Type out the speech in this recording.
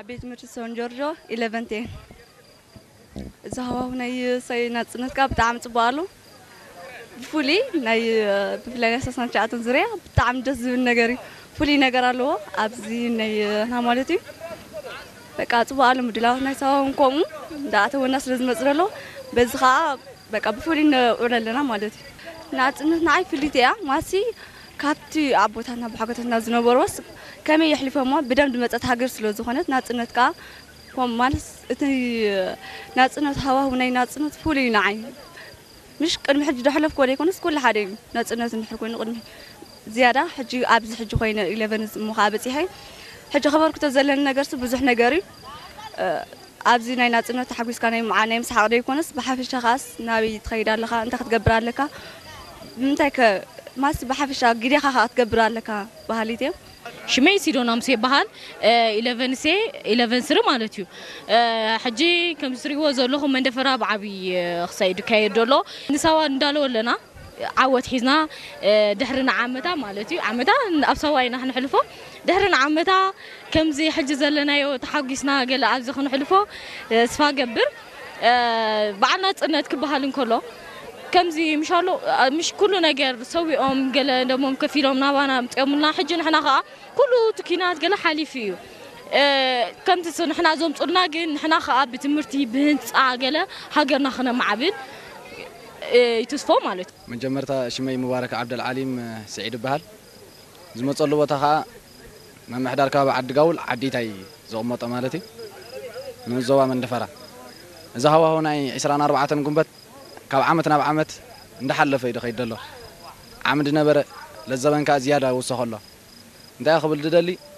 ቤት ትምህርቲ ሶን ጆርጆ ኢለቨንቴ። እዚ ሃዋሁ ናይ ሰይ ናጽነት ከኣ ብጣዕሚ ጽቡቕ ኣሎ። ብፍሉይ ናይ ብፍላይ ናይ ሰስናን ትሽዓተን ዙርያ ብጣዕሚ ደስ ዝብል ነገር እዩ። ፍሉይ ነገር ኣለዎ ኣብዚ ናይ ና ማለት እዩ። በቃ ጽቡቕ ኣሎ ምድላዋት ናይ ሰባውን ከምኡ እንዳኣተወና ስለ ዝመጽእ ዘሎ በዚ ከኣ በቃ ብፍሉይ ነውዕሎ ኣለና ማለት እዩ። ናጽነት ንዓይ ፍልይቲ እያ ማሲ ካብቲ ኣቦታትና ብሓጎታትና ዝነበርዎስ ከመይ የሕሊፎሞ ብደም ዝመጸት ሃገር ስለ ዝኾነት ናጽነት ከኣ ከም ማለት እቲ ናጽነት ሃዋሁ ናይ ናጽነት ፍሉይ እዩ ንዓይ። ምሽ ቅድሚ ሕጂ ዳሕለፍኮ ዘይኮነስ ኩሉ ሓደ እዩ። ናጽነት እንድሕር ኮይኑ ቅድሚ ዝያዳ ሕጂ ኣብዚ ሕጂ ኮይነ ኢለቨን እሞ ከዓ በጺሐ ሕጂ ከበርክቶ ዘለኒ ነገርሲ ብዙሕ ነገር እዩ። ኣብዚ ናይ ናጽነት ተሓጒስካ ናይ ምዓ ናይ ምስሓቕ ዘይኮነስ ብሓፈሻ ከዓስ ናበይ ትኸይድ ኣለኻ እንታይ ክትገብር ኣለካ ብምንታይ ከ ማስ ብሓፈሻ ግዴኻ ከዓ ክትገብር ኣለካ ባህሊት እዮም። ሽመይ ሲዶና ሙሴ ይበሃል። ኢለቨን ሴ ኢለቨን ስሪ ማለት እዩ። ሕጂ ከም ትሪእዎ ዘለኹም መንደፈራ ብዓብዪ ክሳይድ ይካየድ ዘሎ። ንሳዋ እንዳለወ ኣለና ዓወት ሒዝና ድሕሪ ንዓመታ ማለት እዩ ዓመታ ኣብ ሳዋ ኢና ክነሕልፎ ድሕሪ ንዓመታ ከምዚ ሕጂ ዘለናዮ ተሓጒስና ገለ ኣብዚ ክነሕልፎ ተስፋ ገብር። በዓል ናጽነት ክበሃል እንከሎ ከምዚ ምሻሎ ምሽ ኩሉ ነገር ሰዊኦም ገለ ደሞም ከፊሎም ናባና ኣምፅኦምልና ሕጂ ንሕና ከዓ ኩሉ እቲ ኪናት ገለ ሓሊፉ እዩ። ከምቲ ንሕና ዘምፁልና ግን ንሕና ከዓ ብትምህርቲ ብህንፃ ገለ ሃገርና ክነማዕብል ይትስፎ ማለት እዩ። መጀመርታ ሽመይ ሙባረክ ዓብደልዓሊም ስዒድ ይበሃል። ዝመፀሉ ቦታ ከዓ ምምሕዳር ከባቢ ዓዲ ጋውል ዓዲታይ ዝቕመጦ ማለት እዩ። ንዞባ መንደፈራ እዚ ሃዋሁ ናይ ዕስራን ኣርባዕተን ጉንበት ካብ ዓመት ናብ ዓመት እንዳሓለፈ እዩ ዝኸይድ ዘሎ። ዓሚ ዝነበረ ለዘበን ከዓ ዝያዳ ይውሰኸ ኣሎ። እንታይ ክብል ዝደሊ